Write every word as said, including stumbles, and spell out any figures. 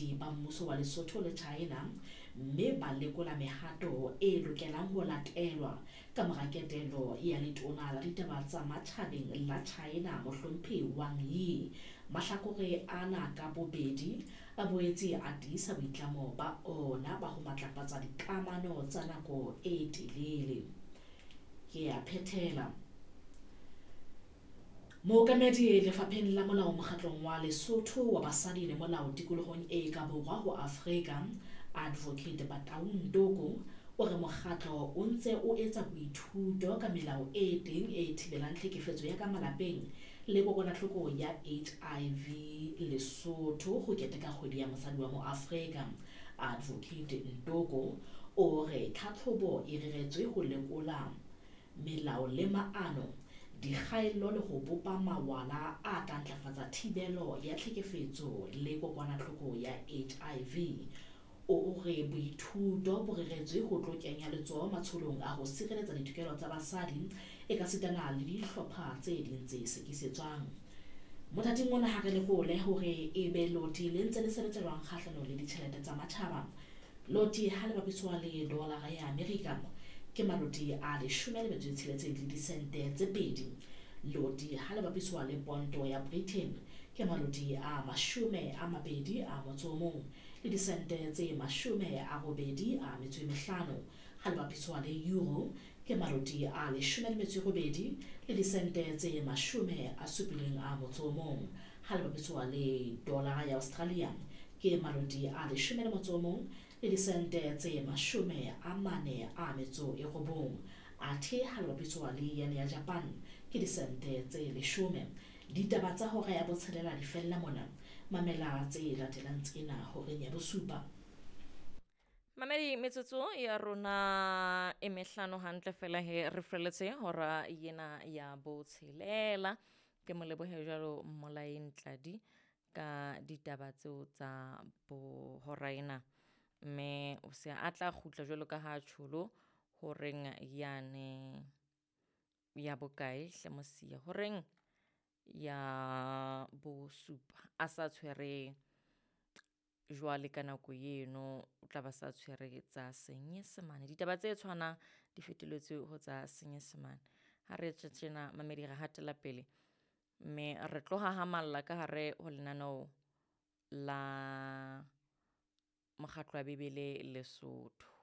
Baokamedi ba mmuso wa Lesotho le China mme ba lekola mehato e lokelang ho latelwa ka mora ketelo ya letona la ditaba tsa matjhabeng la China Mohlomphehi Wang Yi. Mahlakore ana ka bobedi a boetse a tiisa boitlamo ba ona ba ho matlafatsa dikamano tsa nako e telele. Ke a phethela. Mookamedi lefapheng la molao mokgatlong wa Lesotho wa basadi le molao tikolohong e ka borwa ho Afrika, Advocate Bataung Toko, o re mokgatlo o ntse o etsa boithuto ka melao e teng e thibelang tlhekefetso ya ka malapeng le kokwanahloko ya H I V Lesotho ho keteka kgwedi ya mosadi wa moAfrika. Advocate Ntoko o re tlhatlhobo e reretswe ho lekola melao le maano, dikgaello le ho bopa mawala a tla ntlafatsa thibelo ya tlhekefetso le kokwanahloko ya H I V. O re boithuto bo reretswe ho tlo kenya letsoho matsholong a ho sireletsa ditokelo tsa basadi ekasitana le dihlopha tse ding tse sekisetswang. Mothating ona ha re lekole hore ebe loti le ntse le sebetsa jwang kgahlanong le ditjhelete tsa matjhaba. Loti ha le bapiswa le dolara ya Amerika ke maloti a leshome le metso e tsheletseng le disente tse pedi. Loti ha le bapiswa le ponto ya Britain ke maloti a mashome a mabedi a motso o mong le disente tse mashome a robedi a metso e mehlano. Ha le bapiswa le euro ke maloti a leshome le metso e robedi le disente tse mashome a supileng a motso o mong. Ha le bapiswa le dollar ya Australia ke maloti a leshome le motso o mong le disente tse mashome a mane a metso e robong. Athe ha le bapiswa le yen ya Japan ke disente tse leshome. Ditaba tsa hora ya botshelela di fella mona. Mamela tse latelang tsena horeng ya bosupa. Mamedi, metsotso ya rona e mehlano hantle fela he re feletse hora yena ya botshelela. Ke mo lebohe jwalo Mmolaeng Tladi ka ditaba tseo tsa bo hora ena. Mme o se a tla kgutla jwalo ka ha tjholo horeng yane ya bokae hle Mosia, horeng ya bosupa a sa tshwere jwale ka nako eno o tla ba sa tshwere tsa Senyesemane. Ditaba tse tshwanang di fetoletswe ho tsa Senyesemane. Ha re tswe tjena mamedi re hatela pele mme re tlo hahamalla ka hare ho lenaneo la Mokgatlo wa Bibele Lesotho.